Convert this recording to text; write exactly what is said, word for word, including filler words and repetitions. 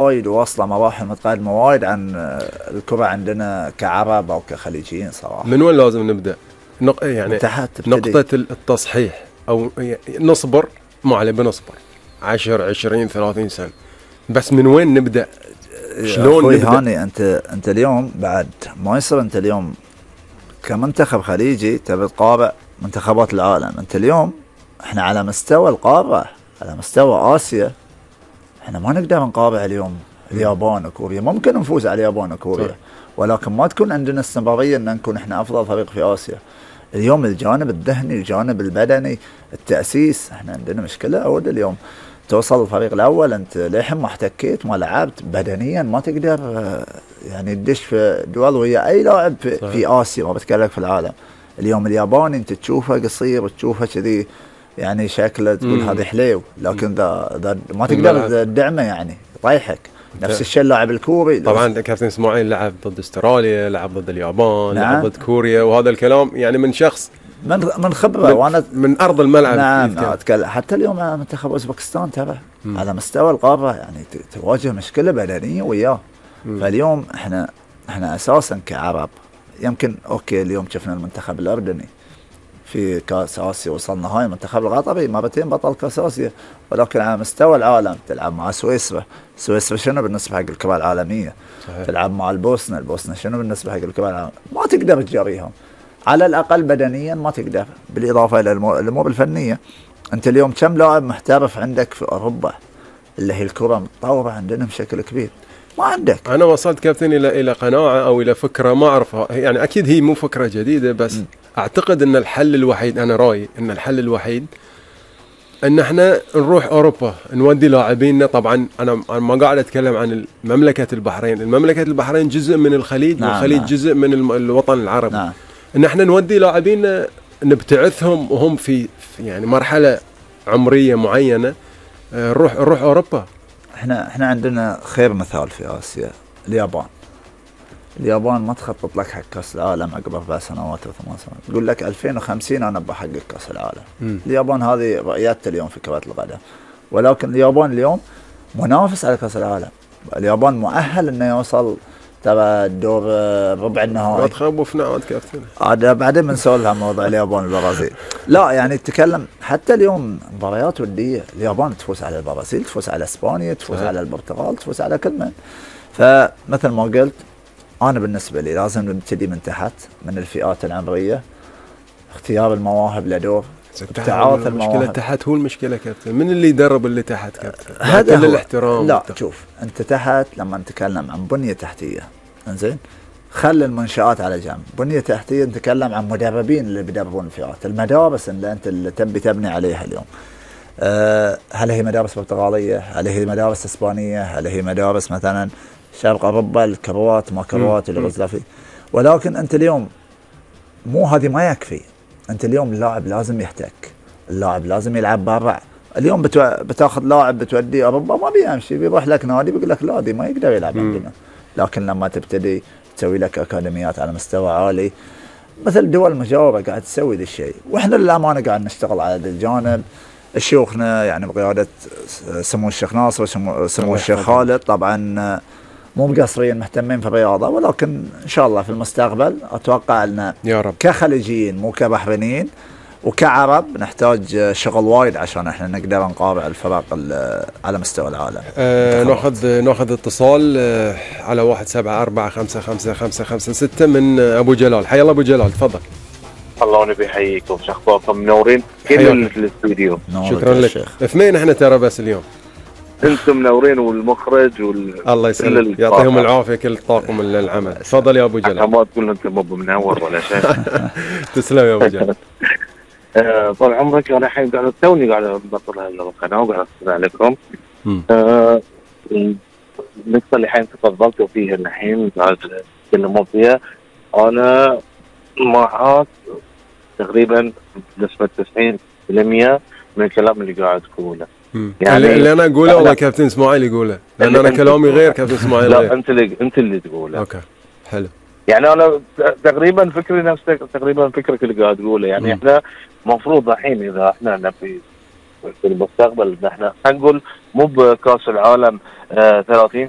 وايد واصلة مراحل متقدمة وايد عن الكرة عندنا كعرب أو كخليجيين صراحة. من وين لازم نبدأ؟ نق... يعني نقطة التصحيح أو نصبر، ما عليه بنصبر عشر عشرين ثلاثين سنة، بس من وين نبدأ؟ شلون نبدأ؟ هاني أنت أنت اليوم بعد ما يصير أنت اليوم كمنتخب خليجي تبي تقارع منتخبات العالم. أنت اليوم إحنا على مستوى القارة، على مستوى آسيا، إحنا ما نقدر نقارع اليوم اليابان وكوريا. ممكن نفوز على اليابان وكوريا، ولكن ما تكون عندنا استمرارية أن نكون إحنا أفضل فريق في آسيا. اليوم الجانب الذهني، الجانب البدني، التأسيس، إحنا عندنا مشكلة. أود اليوم توصل الفريق الأول أنت للحين ما احتكيت ما لعبت بدنيا، ما تقدر يعني تدش في دول ويا أي لاعب في, في آسيا، ما بتكلم في العالم. اليوم الياباني أنت تشوفه قصير وتشوفه كذي يعني شكله تقول هذا حليو، لكن ذا ذا ما تقدر تدعمه يعني يطيحك. نفس الشيء اللاعب الكوري طبعا. كابتن اسماعيل لعب ضد استراليا، لعب ضد اليابان، نعم. لعب ضد كوريا، وهذا الكلام يعني من شخص من من خبره وانا من ارض الملعب. نعم أتكلم. حتى اليوم منتخب اوزبكستان ترى على مستوى القاره يعني تواجه مشكله بدنيه وياه. فاليوم احنا احنا اساسا كعرب يمكن اوكي اليوم شفنا المنتخب الاردني في كاس اسيا، وصلنا هاي المنتخب القطري مرتين بطل كاس اسيا، ولكن على مستوى العالم تلعب مع سويسرا. سويسرا شنو بالنسبه حق الكره العالميه؟ صحيح. تلعب مع البوسنه، البوسنه شنو بالنسبه حق الكره العالميه؟ ما تقدر تجاريهم على الاقل بدنيا، ما تقدر. بالاضافه الى الامور الفنيه، انت اليوم كم لاعب محترف عندك في اوروبا اللي هي الكره متطوره عندنا بشكل كبير؟ ما عندك. انا وصلت كابتن الى الى قناعه او الى فكره ما اعرفها، يعني اكيد هي مو فكره جديده، بس م. اعتقد ان الحل الوحيد، انا رايي ان الحل الوحيد ان احنا نروح اوروبا نودي لاعبيننا. طبعا انا ما قاعد اتكلم عن مملكه البحرين، المملكه البحرين جزء من الخليج، نعم والخليج نعم. جزء من الوطن العربي، نعم. ان احنا نودي لاعبيننا نبتعثهم وهم في يعني مرحله عمريه معينه، نروح نروح اوروبا. احنا احنا عندنا خير مثال في اسيا، اليابان. اليابان ما تخطط لك حق كاس العالم عقب اربع سنوات او ثمان سنوات، تقول لك ألفين وخمسين انا بحقق كاس العالم. م. اليابان هذه رؤيتها اليوم في كرة القدم، ولكن اليابان اليوم منافس على كاس العالم. اليابان مؤهل انه يوصل ترى الدور ربع النهائي. ما تخوفنا عاد كابتن. هذا بعدين بنسولف عن موضوع اليابان والبرازيل. لا يعني تتكلم حتى اليوم مباريات وديه، اليابان تفوز على البرازيل، تفوز على اسبانيا، تفوز أه. على البرتغال، تفوز على كل من. فمثل ما قلت انا بالنسبه لي لازم نبتدي من تحت، من الفئات العمريه، اختيار المواهب لدور، ابتعاث المواهب. المشكله تحت هو المشكله كابتن، من اللي يدرب اللي تحت كابتن؟ هذا كل الاحترام. لا والتحت. شوف انت تحت لما نتكلم عن بنيه تحتيه، انزين خلي المنشآت على جنب، بنيه تحتيه نتكلم عن مدربين اللي بيدربون الفئات، المدارس اللي انت اللي تبي تبني عليها اليوم. أه هل هي مدارس برتغاليه؟ هل هي مدارس اسبانيه؟ هل هي مدارس مثلا شرق اوروبا، الكروات ما كروات اليوغوسلافي؟ ولكن انت اليوم مو هذه ما يكفي، انت اليوم اللاعب لازم يحتك، اللاعب لازم يلعب برا. اليوم بتو... بتاخذ لاعب بتوديه اوروبا ما بيمشي، بيروح لك نادي بيقول لك لا دي ما يقدر يلعب عندنا. لكن لما تبتدي تسوي لك اكاديميات على مستوى عالي مثل دول مجاوره قاعد تسوي ذا الشيء، واحنا للامانه قاعد نشتغل على هذا الجانب. شيوخنا يعني بقياده سمو الشيخ ناصر وسمو سمو الشيخ خالد طبعا مو مقصرين، مهتمين في الرياضه، ولكن ان شاء الله في المستقبل اتوقع ان يا رب كخليجيين مو كبحرينيين وكعرب نحتاج شغل وايد عشان احنا نقدر نقارع الفرق على مستوى العالم. أه ناخذ ناخذ اتصال أه على واحد سبعة أربعة خمسة خمسة خمسة خمسة ستة من ابو جلال. حيا الله ابو جلال، تفضل. الله ونبي يحييكم، شو اخباركم؟ منورين كل الاستوديو. شكرا لك. اثنين احنا ترى بس اليوم. انتم منورين والمخرج وال الله يسلمك، يعطيهم العافيه كل طاقم العمل. تفضل يا ابو جلال. ما تقول انت مو منور ولا شيء. تسلم يا ابو جلال. طال عمرك انا الحين قاعد توني قاعد ابطل القناه وقاعد استمع لكم. آه النقطه اللي الحين تفضلتوا فيها الحين قاعد تتكلمون فيها، انا معاك تقريبا بنسبه تسعين بالمئة من الكلام اللي قاعد تقوله. يعني اللي انا اقوله والله كابتن اسماعيل يقوله، لان انا كلامي غير كابتن اسماعيل. لا انت اللي انت اللي تقوله. اوكي حلو. يعني انا تقريبا فكري نفس تقريبا فكرك اللي قاعد تقوله. يعني م. احنا مفروض الحين اذا احنا نبي في المستقبل. نحن نقول مو بكاس العالم آه ثلاثين